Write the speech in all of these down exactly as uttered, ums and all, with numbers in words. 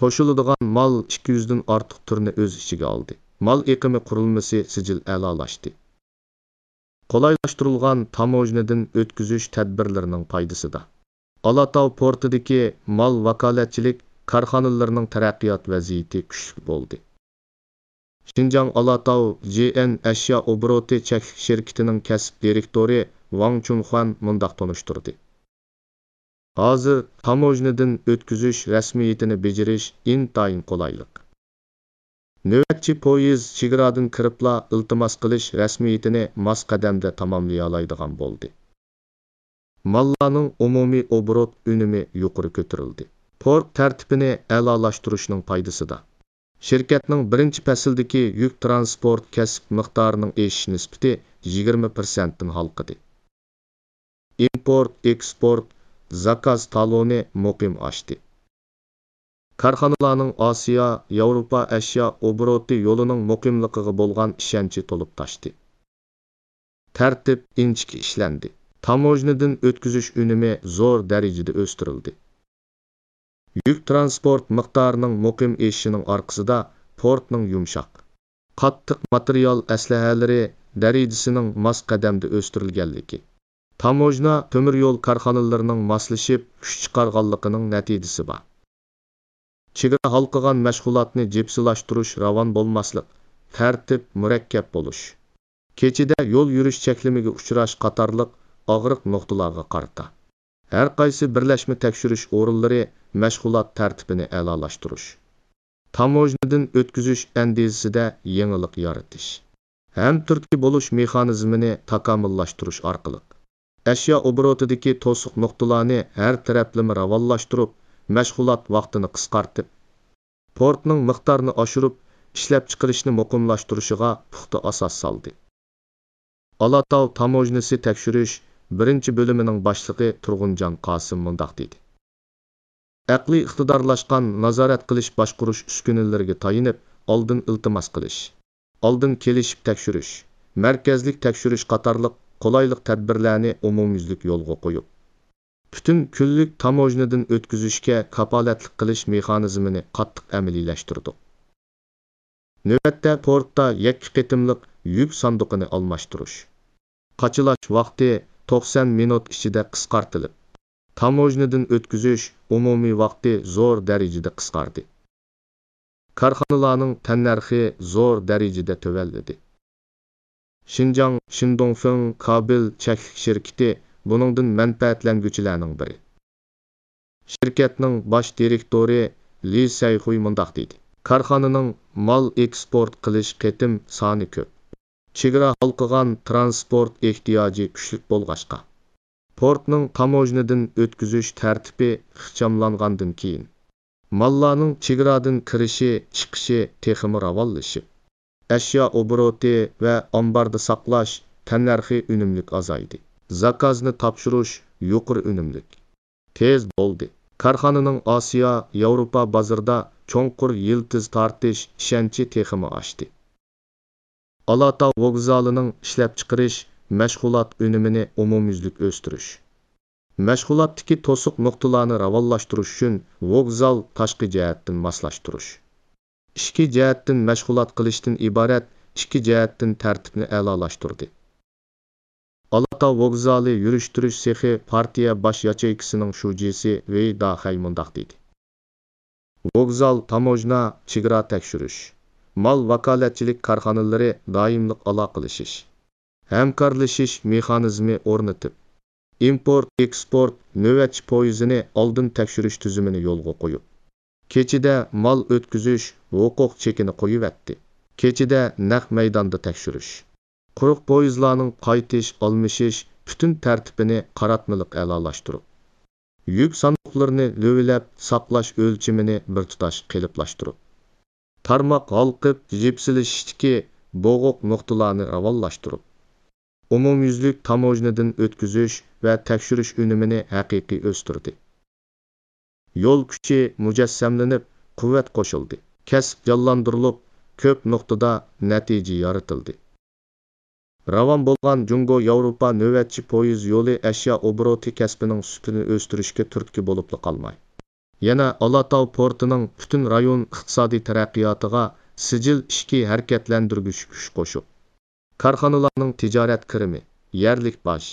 توشۇلىدىغان مال ئىككى يۈزدىن ئارتۇق تۈرنى ئۆز ئىچىگە ئالدى. مال ئېقىمى قۇرۇلمىسى سىجىل ئەلالاشتى. قولايلاشتۇرۇلغان تاموژنىدىن ئۆتكۈزۈش تەدبىرلىرىنىڭ پايدىسىدا، ئالاتاۋ پورتىدىكى مال ۋاكالەتچىلىك كارخانىلىرىنىڭ تەرەققىيات ۋەزىيىتى كۈچلۈك بولدى. شىنجاڭ ئالاتاۋ جى ئېن ئەشيا ئوبوروتى چەكلىك شىركىتىنىڭ كەسىپ دىرېكتورى ۋاڭ چۇنخۇەن مۇنداق تونۇشتۇردى: ھازىر تاموژنىدىن ئۆتكۈزۈش رەسمىيىتىنى بېجىرىش ئىنتايىن قولايلىق. نۆۋەتچى پويىز چېگرادىن كىرىپلا ئىلتىماس قىلىش رەسمىيىتىنى ماس قەدەمدە تاماملىيالايدىغان بولدى. ماللارنىڭ ئومۇمىي ئوبوروت ئۈنۈمى يۇقىرى كۆتۈرۈلدى. پورت تەرتىپىنى ئەلالاشتۇرۇشنىڭ پايدىسىدا، شىركەتنىڭ بىرىنچى پەسىلدىكى يۈك تىرانسپورت كەسىپ مىقدارىنىڭ ئېشىش نىسبىتى يىگىرمە پىرسەنتتىن ھالقىدى. ئىمپورت، ئېكسپورت، زاكاز تالونى مۇقىم ئاشتى. كارخانىلارنىڭ ئاسىيا، ياۋروپا ئەشيا ئوبوروتى يولىنىڭ مۇقىملىقىغا بولغان ئىشەنچى تولۇپ تاشتى. تەرتىپ ئىنچىكە ئىشلەندى. تاموژنىدىن ئۆتكۈزۈش ئۈنۈمى زور دەرىجىدە ئۆستۈرۈلدى. يۈك تىرانسپورت مىقدارىنىڭ مۇقىم ئېشىشىنىڭ ئارقىسىدا پورتنىڭ يۇمشاق، قاتتىق ماتېرىيال ئەسلىھەلىرى دەرىجىسىنىڭ ماس قەدەمدە ئۆستۈرۈلگەنلىكى، تاموژنا تۆمۈر يول كارخانىلىرىنىڭ ماسلىشىپ كۈچ چىقارغانلىقىنىڭ نەتىجىسى بار. چېگرا ھالقىغان مەشغۇلاتنى جىپسىلاشتۇرۇش، راۋان بولماسلىق، تەرتىپ مۇرەككەپ بولۇش، كېچىدە يول يۈرۈش چەكلىمىگە ئۇچراش قاتارلىق ئاغرىق نۇقتىلارغا قارىتا، ھەر قايسى بىرلەشمە تەكشۈرۈش ئورۇنلىرى مەشغۇلات تەرتىپىنى ئەلالاشتۇرۇش، تاموژنىدىن ئۆتكۈزۈش ئەندىزىسىدە يېڭىلىق يارىتىش، ھەمتۈرتكە بولۇش مېخانىزمىنى تاكامۇللاشتۇرۇش ئارقىلىق، ئەشيا ئوبوروتىدىكى توسۇق نۇقتىلارنى ھەر تەرەپلىمە راۋانلاشتۇرۇپ، مەشغۇلات ۋاقتىنى قىسقارتىپ، پورتنىڭ مىقدارىنى ئاشۇرۇپ، ئىشلەپچىقىرىشنى مۇقىملاشتۇرۇشىغا پۇختا ئاساس سالدى. ئالاتاۋ تاموژنىسى تەكشۈرۈش بىرىنچى بۆلۈمىنىڭ باشلىقى تۇرغۇنجان قاسىم مۇنداق دېدى: ئەقلىي ئىقتىدارلاشقان نازارەت قىلىش باشقۇرۇش ئۈسكۈنىلىرىگە تايىنىپ، ئالدىن ئىلتىماس قىلىش، ئالدىن كېلىشىپ تەكشۈرۈش، مەركەزلىك تەكشۈرۈش قاتارلىق قولايلىق تەدبىرلەرنى ئومۇميۈزلۈك يولغا قويۇپ، پۈتۈن كۈنلۈك تاموژنىدىن ئۆتكۈزۈشكە كاپالەتلىك قىلىش مېخانىزمىنى قاتتىق ئەمەلىيلەشتۈردۇق. نۆۋەتتە پورتتا يەككە قېتىملىق يۈك ساندۇقىنى ئالماشتۇرۇش، قاچىلاش ۋاقتى توقسان مىنۇت ئىچىدە قىسقارتىلىپ، تاموژنىدىن ئۆتكۈزۈش ئومۇمىي ۋاقتى زور دەرىجىدە قىسقاردى. كارخانىلارنىڭ تەننەرخى زور دەرىجىدە تۆۋەنلىدى. شىنجاڭ شىندۇڭفېڭ كابېل چەكلىك شىركىتى بۇنىڭدىن مەنپەئەتلەنگۈچىلەرنىڭ بىرى. شىركەتنىڭ باش دىرېكتورى لى سەيخۇي مۇنداق دېدى: كارخانىنىڭ مال ئېكسپورت قىلىش قېتىم سانى كۆپ. چېگرا ھالقىغان تىرانسپورت ئېھتىياجى كۈچلۈك بولغاچقا، پورتنىڭ تاموژنىدىن ئۆتكۈزۈش تەرتىپى ئىخچاملانغاندىن كېيىن، ماللارنىڭ چېگرادىن كىرىشى، چىقىشى تېخىمۇ راۋانلىشىپ، ئەشيا ئوبوروتى ۋە ئامباردا ساقلاش تەننەرخى ئۈنۈملۈك ئازايدى. زاكازنى تاپشۇرۇش يۇقىرى ئۈنۈملۈك، تېز بولدى. كارخانىنىڭ ئاسىيا، ياۋروپا بازىرىدا چوڭقۇر يىلتىز تارتىش ئىشەنچى تېخىمۇ ئاشتى. ئالاتاۋ ۋوگزالىنىڭ ئىشلەپچىقىرىش مەشغۇلات ئۈنۈمىنى ئومۇميۈزلۈك ئۆستۈرۈش، مەشغۇلاتتىكى توسۇق نۇقتىلارنى راۋانلاشتۇرۇش ئۈچۈن ۋوگزال تاشقى جەھەتتىن ماسلاشتۇرۇش، ئىچكى جەھەتتىن مەشغۇلات قىلىشتىن ئىبارەت ئىككى جەھەتتىن تەرتىپنى ئەلالاشتۇردى. ئالاتاۋ ۋوگزالى يۈرۈشتۈرۈش سېخى پارتىيە باش ياچېيكىسىنىڭ شۇجىسى ۋېي داخەي مۇنداق دېدى: ۋوگزال، تاموژنا، چېگرا تەكشۈرۈش، مال ۋاكالەتچىلىك كارخانىلىرى دائىملىق ئالاقىلىشىش، ھەمكارلىشىش مېخانىزمى ئورنىتىپ، ئىمپورت، ئېكسپورت نۆۋەتچى پويىزىنى ئالدىن تەكشۈرۈش تۈزۈمىنى يولغا قويۇپ، كېچىدە مال ئۆتكۈزۈش ھوقۇق چېكىنى قويۇۋەتتى. كېچىدە نەق مەيداندا تەكشۈرۈش، قۇرۇق پويىزلارنىڭ قايتىش، ئالمىشىش پۈتۈن تەرتىپىنى قاراتمىلىق ئەلالاشتۇرۇپ، يۈك ساندۇقلىرىنى لۆۋىلەپ ساقلاش ئۆلچىمىنى بىر تۇتاش قېلىپلاشتۇرۇپ، تارماق ھالقىپ يىپسىلىشىشتىكى بوغۇق نۇقتىلارنى راۋانلاشتۇرۇپ، ئومۇميۈزلۈك تاموژنىدىن ئۆتكۈزۈش ۋە تەكشۈرۈش ئۈنۈمىنى ھەقىقىي ئۆستۈردى. يول كۈچى مۇجەسسەملىنىپ، قۇۋۋەت قوشۇلدى. كەسىپ جانلاندۇرۇلۇپ، كۆپ نۇقتىدا نەتىجە يارىتىلدى. راۋان بولغان جۇڭگو ياۋروپا نۆۋەتچى پويىز يولى ئەشيا ئوبوروتى كەسپىنىڭ سۈپىتىنى ئۆستۈرۈشكە تۈرتكە بولۇپلا قالماي، يەنە ئالاتاۋ پورتىنىڭ پۈتۈن رايون ئىقتىسادىي تەرەققىياتىغا سىجىل ئىچكى ھەرىكەتلەندۈرگۈچ كۈچ قوشۇپ، كارخانىلارنىڭ تىجارەت كىرىمى، يەرلىك باج،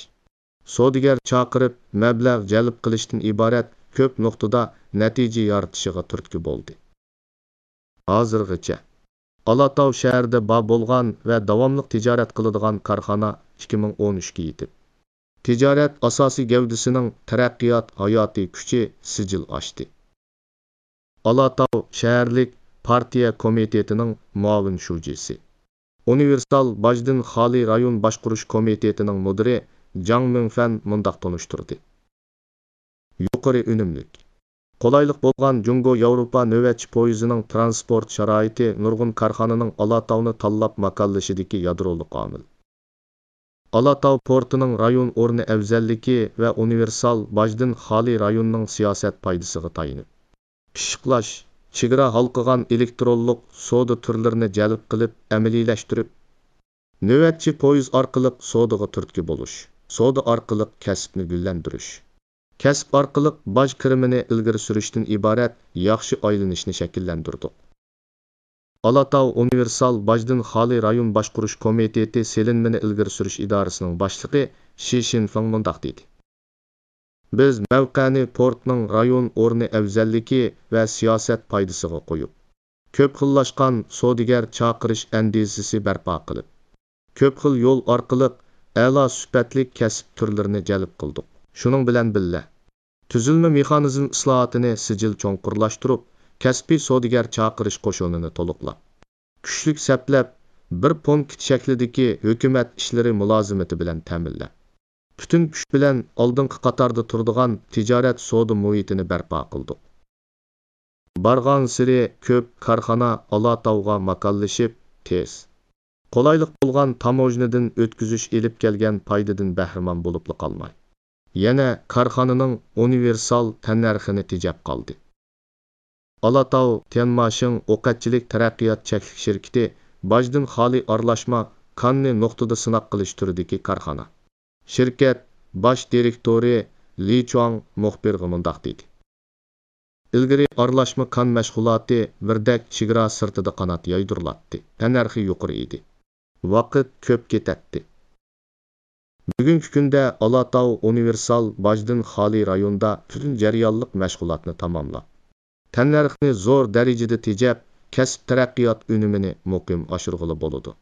سودىگەر چاقىرىپ، مەبلەغ جەلپ قىلىشتىن ئىبارەت كۆپ نۇقتىدا نەتىجە يارىتىشىغا تۈرتكە بولدى. ھازىرغىچە ئالاتاۋ شەھىرىدە بار بولغان ۋە داۋاملىق تىجارەت قىلىدىغان كارخانا ئىككى مىڭ ئون ئۈچكە يېتىپ، تىجارەت ئاساسىي گەۋدىسىنىڭ تەرەققىيات ھاياتىي كۈچى سىجىل ئاشتى. ئالاتاۋ شەھەرلىك پارتىيە كومىتېتىنىڭ مۇئاۋىن شۇجىسى، ئۇنىۋېرسال باجدىن خالىي رايون باشقۇرۇش كومىتېتىنىڭ مۇدىرى جاڭ مىڭفەن مۇنداق تونۇشتۇردى. يۇقىرى ئۈنۈملۈك، قولايلىق بولغان جۇڭگو ياۋروپا نۆۋەتچى پويىزىنىڭ تىرانسپورت شارائىتى نۇرغۇن كارخانىنىڭ ئالاتاۋنى تاللاپ ماكانلىشىدىكى يادرولۇق ئامىل. ئالاتاۋ پورتىنىڭ رايون ئورنى ئەۋزەللىكى ۋە ئۇنىۋېرسال باجدىن خالىي رايوننىڭ سىياسەت پايدىسىغا تايىنىپ، پىششىقلاش، چېگرا ھالقىغان ئېلېكترونلۇق سودا تۈرلىرىنى جەلپ قىلىپ ئەمەلىيلەشتۈرۈپ، نۆۋەتچى پويىز ئارقىلىق سودىغا تۈرتكە بولۇش، سودا ئارقىلىق كەسىپنى گۈللەندۈرۈش، كەسىپ ئارقىلىق باج كىرىمىنى ئىلگىرى سۈرۈشتىن ئىبارەت ياخشى ئايلىنىشنى شەكىللەندۈردۇق. ئالاتاۋ ئۇنىۋېرسال باجدىن خالىي رايون باشقۇرۇش كومىتېتى سېلىنمىنى ئىلگىرى سۈرۈش ئىدارىسىنىڭ باشلىقى شى شىنفېڭ مۇنداق دېدى. بىز مەۋقەنى پورتنىڭ رايون ئورنى ئەۋزەللىكى ۋە سىياسەت پايدىسىغا قويۇپ، كۆپ خىللاشقان سودىگەر چاقىرىش ئەندىزىسى بەرپا قىلىپ، كۆپ خىل يول ئارقىلىق ئەلا سۈپەتلىك كەسىپ تۈرلىرىنى جەلپ قىلدۇق. شۇنىڭ بىلەن بىللە، تۈزۈلمە مېخانىزم ئىسلاھاتىنى سىجىل چوڭقۇرلاشتۇرۇپ، كەسپىي سودىگەر چاقىرىش قوشۇنىنى تولۇقلاپ، كۈچلۈك سەپلەپ، بىر پونكىت شەكلىدىكى ھۆكۈمەت ئىشلىرى مۇلازىمىتى بىلەن تەمىنلەپ، پۈتۈن كۈچ بىلەن ئالدىنقى قاتاردا تۇرىدىغان تىجارەت سودا مۇھىتىنى بەرپا قىلدۇق. بارغانسېرى كۆپ كارخانا ئالاتاۋغا ماكانلىشىپ، تېز، قولايلىق بولغان تاموژنىدىن ئۆتكۈزۈش ئېلىپ كەلگەن پايدىدىن بەھرىمەن بولۇپلا قالماي، يەنە كارخانىنىڭ ئۇنىۋېرسال تەننەرخىنى تېجەپ قالدى. ئالاتاۋ تيەنماشىڭ ئوقەتچىلىك تەرەققىيات چەكلىك شىركىتى باجدىن خالىي ئارىلاشما كاننى نۇقتىدا سىناق قىلىش تۈرىدىكى كارخانا. شىركەت باش دىرېكتورى لى چۇاڭ مۇخبىرغا مۇنداق دېدى. ئىلگىرى ئارىلاشما كان مەشغۇلاتى بىردەك چېگرا سىرتىدا قانات يايدۇرۇلاتتى، تەننەرخى يۇقىرى ئىدى. ۋاقىت كۆپ كېتەتتى. بۈگۈنكى كۈندە ئالاتاۋ ئۇنىۋېرسال باجدىن خالىي رايوندا پۈتۈن جەريانلىق مەشغۇلاتنى تاماملاپ، تەننەرخنى زور دەرىجىدە تېجەپ، كەسىپ تەرەققىيات ئۈنۈمىنى مۇقىم ئاشۇرغىلى بولىدۇ.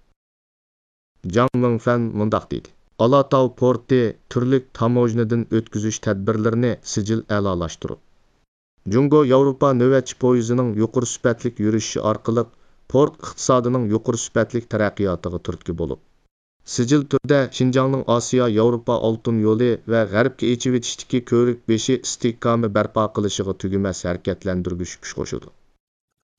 جاڭ مىڭفەن مۇنداق دېدى، ئالاتاۋ پورتى تۈرلۈك تاموژنىدىن ئۆتكۈزۈش تەدبىرلىرىنى سىجىل ئەلالاشتۇرۇپ، جۇڭگو ياۋروپا نۆۋەتچى پويىزىنىڭ يۇقىرى سۈپەتلىك يۈرۈشۈشى ئارقىلىق پورت ئىقتىسادىنىڭ يۇقىرى سۈپەتلىك تەرەققىياتىغا تۈرتكە بولۇپ، سىجىل تۈردە شىنجاڭنىڭ ئاسىيا ياۋروپا ئالتۇن يولى ۋە غەربكە ئېچىۋېتىشتىكى كۆۋرۈك بېشى ئىستىھكامى بەرپا قىلىشىغا تۈگىمەس ھەرىكەتلەندۈرگۈچ كۈچ قوشىدۇ.